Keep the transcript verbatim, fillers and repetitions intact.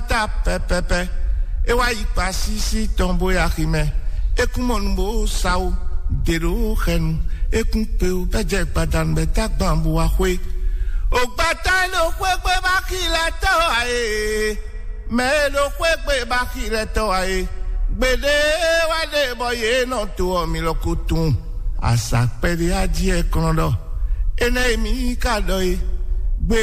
ta pɛpɛpɛ. E wá yi kpa sísí tɔn bó yi axi mɛ. E kún mɔ nu bó sa wo. Dě ɖó xɛnu. E kún kpe wo bɛ́ jɛ gbadanu bɛ tá gban bó wá xwé. Ògbátá e ɖo xwé gbé bá xi lɛ tɔ́ ǎ e. Mɛ e ɖo xwé gbé bá xi lɛ tɔ́ ǎ e. Gbeɖé wá ɖe bɔ yě nɔ to ɔ́ mi lɔ ko tunwun. Azǎ kpɛɖé á jí ɛ kɔn ɖɔ. Énɛ́ e mi ka ɖɔ e. Gbe